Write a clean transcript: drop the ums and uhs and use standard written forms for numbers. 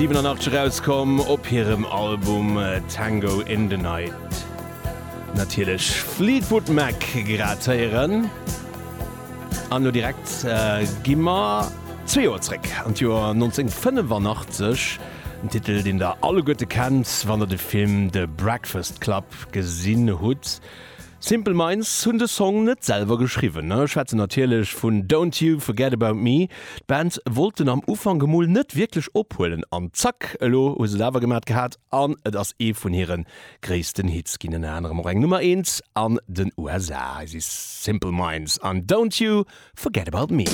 1987 erauskomm op hirem Album Tango in the Night. Natierlech Fleetwood Mac grad héieren. An elo direkt gi mer zwee Joer zréck an d'Joer 1985. En Titel, deen der alleguerte kennt, wann der de Film The Breakfast Club gesinn hutt. Simple Minds hunn de Song net selwer geschriwwen, ech schwätzen natierlech vun Don't You Forget About Me. D'Band wollt en am Ufank emol net wierklech ophuelen an zack, elo hu se et awer gemat gehat an et ass ee vun hire gréissten Hits ginn, ënner anerem och eng Nummer eent an den USA. Hei si Simple Minds an Don't You Forget About Me.